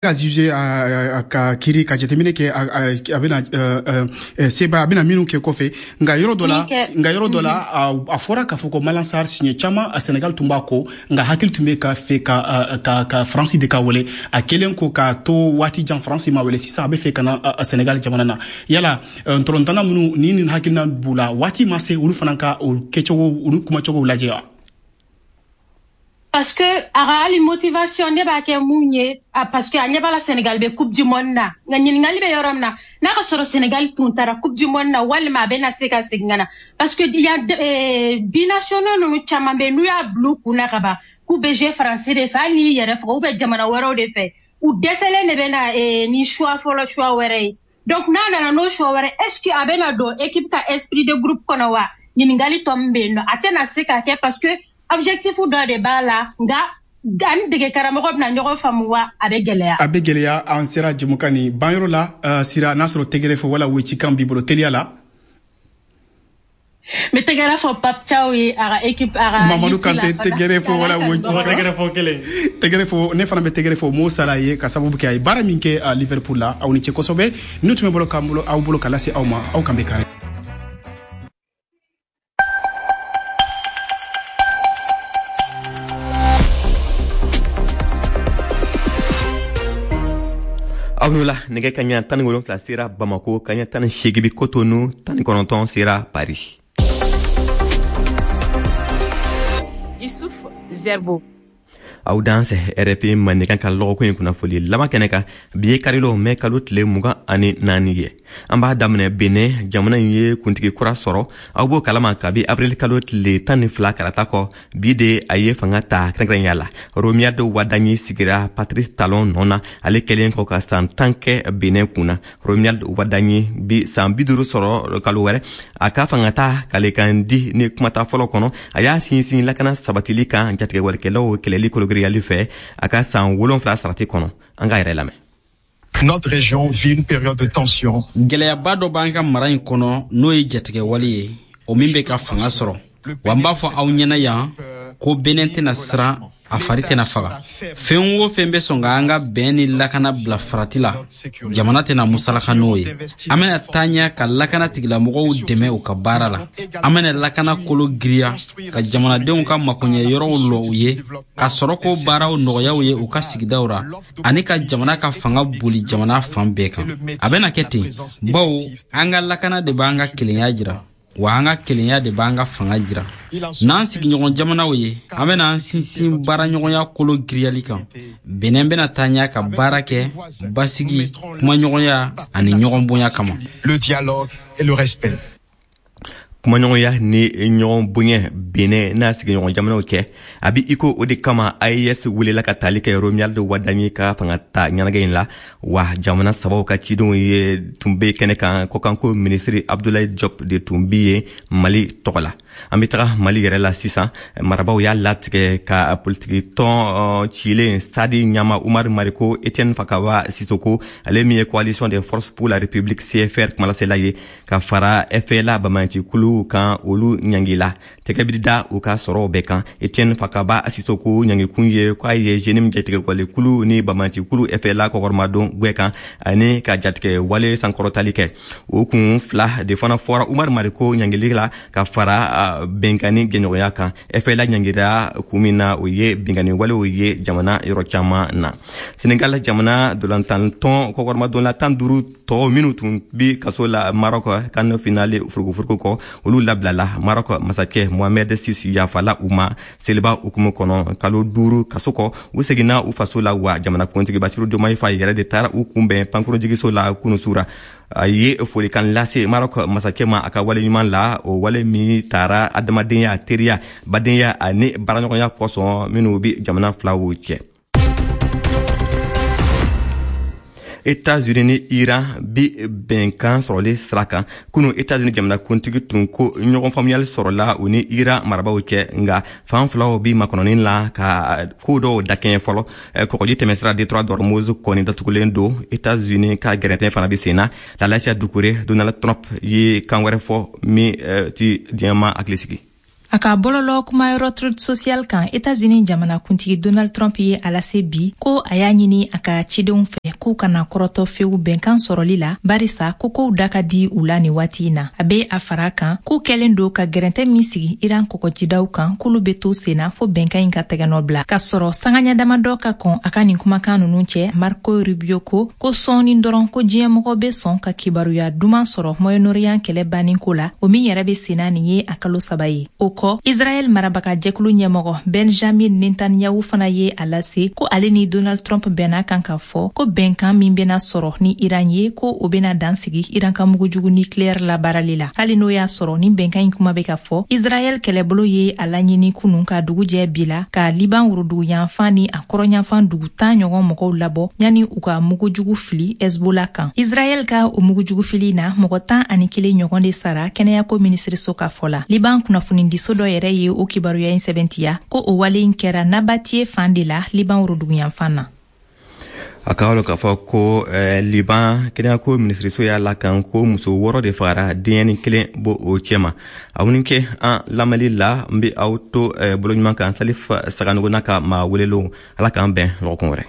Ka juger ka kiri ka jateminɛ kɛ, a bɛna seba, a bɛna minnu kɛ kɔfɛ. Nka yɔrɔ dɔ la, a fɔra k'a fɔ ko Malang Sarr, siɲɛ caman a Senegal tun b'a kɔ, nka hakili tun bɛ ka fɛ ka France de ka wele. A kɛlen ko k'a to waati jan, France ma wele. Sisan a bɛ fɛ ka na Senegal jamana na. Yala ntolontanna minnu ni nin hakilina b'u la, waati ma se olu fana ka o kɛcogo, olu kumacogo lajɛ wa? Parce que a ka hali motivation ne b'a kɛ mun ye, parce que a ɲɛ b'a la Sénégal bɛ Coupe du monde na. Nka ɲininkali bɛ yɔrɔ min na, n'a ka sɔrɔ Sénégal tun taara Coupe du monde na, walima a bɛ na se ka segin ka na, parce que y a binationaux ninnu caman bɛ yen, n'u y'a bila u kun na ka ban k'u bɛ jouer Faransi de fɛ, hali n'i yɛrɛ faga ou bien jamana wɛrɛw de fɛ, u dɛsɛlen de bɛ na ni choix fɔlɔ, choix wɛrɛ ye. Donc n'a nana n'o choix wɛrɛ, est ce que a bɛ na don équipe ka esprit de groupe kɔnɔ wa? Ɲininkali tɔ min bɛ yen nɔ, a tɛna se ka kɛ, parce que objectif dɔ de b'a la. Nka ani dege karamɔgɔ bɛna ɲɔgɔn faamu wa? A bɛ gɛlɛya. A bɛ gɛlɛya. An sera jɛmukan nin banyɔrɔ la. Sira, n'a sɔrɔ tɛgɛrɛ fɔ wala wecikan b'i bolo teliya la. N bɛ tɛgɛrɛ fɔ Pape Thiaw ye, a ka équipe, a ka Mamadu Kante, tɛgɛrɛ fɔ wala wecikan. Tɛgɛrɛ fɔ kelen. Tɛgɛrɛ fɔ. Ne fana bɛ tɛgɛrɛ fɔ Mo Salah ye, ka sababu kɛ a ye baara min kɛ Liverpool la. Aw ni ce kosɛbɛ. N'u tun bɛ bolo k'an bolo, aw bolo ka lase aw ma, aw kan bɛ kari. Aw n'o la, nɛgɛ kaɲa 17 sera Bamako, kaɲa 18 bi Kotonu, 19 sera Paris. Issouf Zerbo. Aw dansɛ RFI Mandenkan ka lɔgɔkun in kunnafoli laban kɛnɛ kan. Bi ye karilon, mɛ kalo tile 24 ye. An b'a daminɛ Benin. Jamana in ye kuntigi kura sɔrɔ, aw b'o kalama, kabi avril kalo tile 12 kalata kɔ. Bi de a ye fanga ta kɛrɛnkɛrɛnya la. Romuald Wadagni sigira Patrice Talon nɔ na, ale kɛlen kɔ ka san 10 kɛ Benin kunna. Romuald Wadagni bi san 50 sɔrɔ kalo wɛrɛ. A ka fanga ta kalekan di ni kumata fɔlɔ kɔnɔ, a y'a sinsin lakana sabatili kan, jatigɛwalekɛlaw kɛlɛli kologiriyali fɛ, a ka san 7 sarati kɔnɔ. An k'a yɛrɛ lamɛn. Notre région vit une période de tension. Gwɛlɛyaba dɔ b'an ka mara in kɔnɔ, n'o ye jatigɛwale ye, o min bɛ ka fanga sɔrɔ. Wa n b'a fɔ aw ɲɛna yan ko Benɛn tɛna siran, a fari tɛna faga. Fɛn o fɛn bɛ sɔn ka an ka bɛn ni lakana bila farati la, jamana tɛna musalaka n'o ye. An bɛna taa ɲɛ ka lakana tigilamɔgɔw dɛmɛ u ka baara la. An bɛna lakana kolo giriya, ka jamanadenw ka makoɲɛ yɔrɔw lɔ u ye, ka sɔrɔ ko baaraw nɔgɔyaw ye u ka sigidaw ra, ani ka jamana ka fanga boli jamana fan bɛɛ kan. A bɛna kɛ ten, bawo an ka lakana de b'an ka kelenya jira, wa an ka kelenya de b'an ka fanga jira. N'an sigiɲɔgɔn jamanaw ye, an bɛna an sinsin baaraɲɔgɔnya kolo giriyali kan. Benɛn bɛna taa ɲɛ ka baara kɛ basigi, kumaɲɔgɔnya ani ɲɔgɔn bonya kama. Le dialogue et le respect. Kumaɲɔgɔnya ni ɲɔgɔn bonya Benɛ n'a sigiɲɔgɔn jamanaw cɛ, a bi iko o de kama AES welela ka tali kɛ Romuald Wadagni ka fanga ta ɲɛnagɛ in la. Wa jamana sabaw ka cidenw ye tun be kɛnɛ kan. Kɔkanko minisiri Abdoulaye Diop de tun bi ye Mali tɔgɔ la. An be taga Mali yɛrɛ la sisan. Marabaw y'a latigɛ ka politiki tɔn cilen Sadi ɲama Umar Mariko, Etienne Fakaba Sisoko, ale min ye Coalition des forces pour la République, CFR kumalasela ye, ka fara FLA banbagancikulu kan, olu ɲangila, tɛgɛ bi da u ka sɔrɔw bɛɛ kan. Etienne Fakaba Sisoko ɲangikun ye k'a ye JNIM jatigɛwalekulu ni banbagancikulu FLA kɔkɔrɔmadon gwɛ kan, ani ka jatigɛ wale sankɔrɔtali kɛ. O kun fila de fana fɔra Umar Mariko ɲangili la, ka fara bɛnkanni jɛɲɔgɔnya kan. FLA ɲangira kun min na, o ye binkanni walew ye jamana yɔrɔ caman na. Senegal jamana dolantantɔn kɔkɔrɔmadonla 15 tɔw minnu tun bi kaso la Maroc CAN finale furukufuruku kɔ, olu labilala. Maroc masakɛ Mohamed VI yafala u ma seliba hukumu kɔnɔ. Kalo 5 kaso kɔ, u seginna u faso la. Wa jamanakuntigi Basiru Diomaye Faye yɛrɛ de taara u kunbɛn pankurunjigiso la kunu sura. A ye folikan lase Maroc masakɛ ma a ka wale ɲuman la, o wale min taara adamadenya, teriya, badenya ani baaraɲɔgɔnya kosɔn minnu bi jamana filaw cɛ. Etats-Unis ni Iran bi bɛnkan sɔrɔli sira kan. Kunu, Etats-Unis jamanakuntigi tun ko ɲɔgɔn faamuyali sɔrɔla u ni Iran marabaw cɛ, nga fan filaw bi makɔnɔni la ka ko dɔw dakɛɲɛ fɔlɔ. Kɔgɔji tɛmɛsira détroit d'Ormuz kɔni datugulen don, Etats-Unis ka gɛrɛntɛ fana bi sen na. Lalasia Dukure, Donald Trump ye kan wɛrɛ fɔ min ti diɲɛma hakili sigi. A ka bɔlɔlɔ kumayɔrɔ Truth Social kan, Etats-Unis jamanakuntigi Donald Trump ye a lase bi ko a y'a ɲini a ka cidenw fɛ k'u kana kɔrɔtɔ fewu bɛnkan sɔrɔli la, barisa ko kow da ka di u la nin waati in na. A be a fara kan k'u kɛlen don ka gɛrɛntɛ min sigi Iran kɔgɔjidaw kan, k'olu be to senna fo bɛnkan in ka tɛgɛnɔ bila. K'a sɔrɔ sangaɲa damadɔ ka kɔn a ka nin kumakan nunu cɛ, Marco Rubio ko sɔɔni dɔrɔn ko diɲɛmɔgɔ be sɔn ka kibaruya duman sɔrɔ Moyen-Orient kɛlɛ banni ko la, o min yɛrɛ be senna nin ye a kalo 3 ye. O kɔ, Israɛl marabaga jɛkulu ɲɛmɔgɔ Benjamin Netanyahu fana ye a lase ko ale ni Donald Trump bɛnna kan k'a fɔ ko bɛnkan min bɛna sɔrɔ ni Iran ye, ko o bɛna dan sigi Iran ka mugujugu nucléaire labaarali la. Hali n'o y'a sɔrɔ ni bɛnkan in kuma bɛ ka fɔ, Israɛl kɛlɛbolo ye a laɲini kunun ka dugu jɛ bi la ka Liban woroduguyanfan ni a kɔrɔnyanfan dugu 10 ɲɔgɔn mɔgɔw labɔ yanni u ka mugujugu fili Hezbollah kan. Israɛl ka o mugujugu fili na, mɔgɔ 11 ɲɔgɔn de sara kɛnɛyako minisiriso ka fɔ la. Liban kunnafonidiso dɔ yɛrɛ ye o kibaruya in sɛbɛntiya ko o wale in kɛra Nabatiye fan de la Liban woroduguyanfan na. A ka lɔn k'a fɔ ko Liban kɛnɛyako minisiriso y'a lakan ko muso 6 de fagara, denyɛni kelen bo o cɛma. Aw ni kɛ an lamɛnli la, n be aw to bolo ɲuman kan Salif Saganogo n'a ka maa welelenw. Ala k'an bɛn lɔgɔkun wɛrɛ.